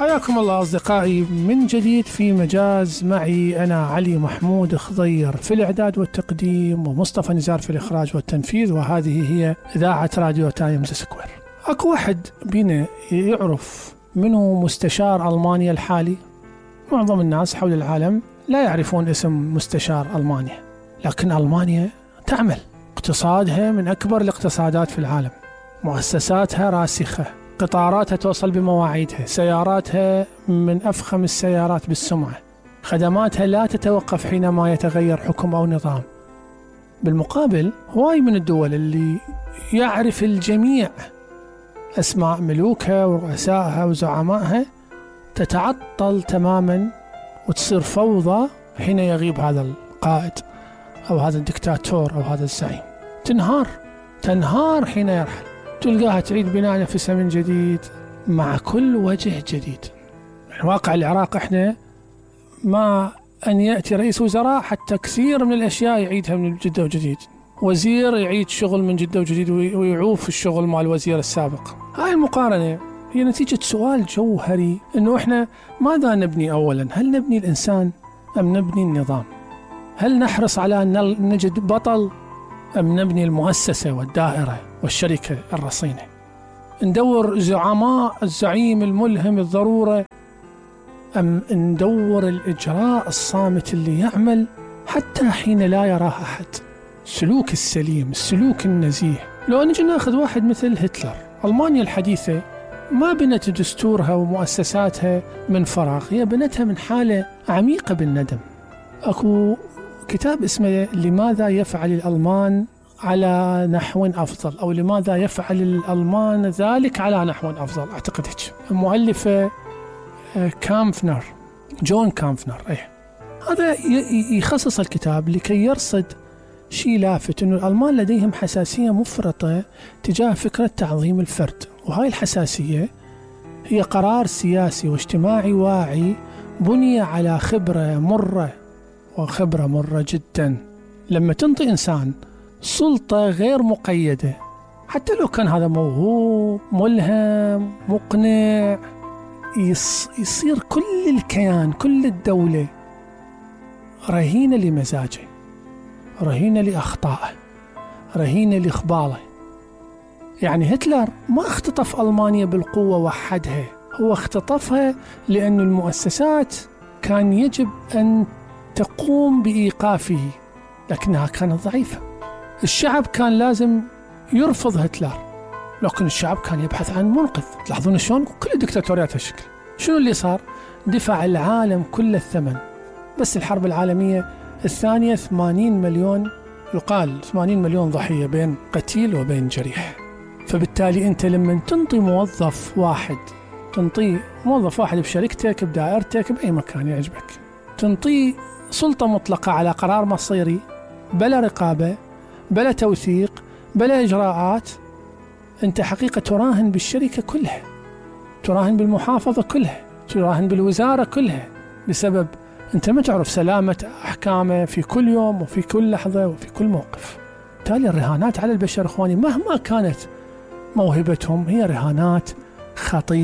حياكم الله أصدقائي من جديد في مجاز. معي أنا علي محمود خضير في الإعداد والتقديم، ومصطفى نزار في الإخراج والتنفيذ، وهذه هي إذاعة راديو تايمز سكوير. أكو واحد بينا يعرف منه مستشار ألمانيا الحالي؟ معظم الناس حول العالم لا يعرفون اسم مستشار ألمانيا، لكن ألمانيا تعمل، اقتصادها من أكبر الاقتصادات في العالم، مؤسساتها راسخة، قطاراتها توصل بمواعيدها، سياراتها من أفخم السيارات بالسمعة، خدماتها لا تتوقف حينما يتغير حكم أو نظام. بالمقابل هواي من الدول اللي يعرف الجميع أسماء ملوكها ورؤسائها وزعمائها تتعطل تماما وتصير فوضى حين يغيب هذا القائد أو هذا الدكتاتور أو هذا الزعيم، تنهار حين يرحل، تلقاها تعيد بناء نفسها من جديد مع كل وجه جديد. واقع العراق احنا ما أن يأتي رئيس وزراء حتى كثير من الأشياء يعيدها من جدة وجديد، وزير يعيد شغل من جدة وجديد ويعوف الشغل مع الوزير السابق. هاي المقارنة هي نتيجة سؤال جوهري، إنه إحنا ماذا نبني أولا؟ هل نبني الإنسان أم نبني النظام؟ هل نحرص على أن نجد بطل أم نبني المؤسسة والدائرة والشركة الرصينة؟ ندور زعماء، الزعيم الملهم الضرورة، أم ندور الإجراء الصامت اللي يعمل حتى حين لا يراه أحد؟ السلوك السليم، السلوك النزيه. لو نجي ناخذ واحد مثل هتلر، ألمانيا الحديثة ما بنت دستورها ومؤسساتها من فراغ، هي بنتها من حالة عميقة بالندم. أكو كتاب اسمه لماذا يفعل الألمان على نحو أفضل، أو لماذا يفعل الألمان ذلك على نحو أفضل، أعتقد هيك. المؤلفة كامفنر، جون كامفنر. هذا يخصص الكتاب لكي يرصد شيء لافت، أنه الألمان لديهم حساسية مفرطة تجاه فكرة تعظيم الفرد، وهاي الحساسية هي قرار سياسي واجتماعي واعي بني على خبرة مرة جدا. لما تنطي إنسان سلطة غير مقيدة، حتى لو كان هذا موهوب ملهم مقنع، يصير كل الكيان، كل الدولة رهينة لمزاجه، رهينة لأخطائه، رهينة لإخباره. يعني هتلر ما اختطف ألمانيا بالقوة وحدها، هو اختطفها لأن المؤسسات كان يجب أن تقوم بإيقافه، لكنها كانت ضعيفة. الشعب كان لازم يرفض هتلر، لكن الشعب كان يبحث عن منقذ. تلاحظون شلون كل الدكتاتوريات هالشكل. شنو اللي صار؟ دفع العالم كل الثمن. بس الحرب العالمية الثانية 80 مليون، يقال 80 مليون ضحية بين قتيل وبين جريح. فبالتالي أنت لما تنطي موظف واحد بشركتك، بدائرتك، بأي مكان يعجبك، تنطي سلطة مطلقة على قرار مصيري بلا رقابة بلا توثيق بلا إجراءات، أنت حقيقة تراهن بالشركة كلها، تراهن بالمحافظة كلها، تراهن بالوزارة كلها، بسبب أنت ما تعرف سلامة أحكامه في كل يوم وفي كل لحظة وفي كل موقف. بالتالي الرهانات على البشر إخواني مهما كانت موهبتهم هي رهانات خطيرة.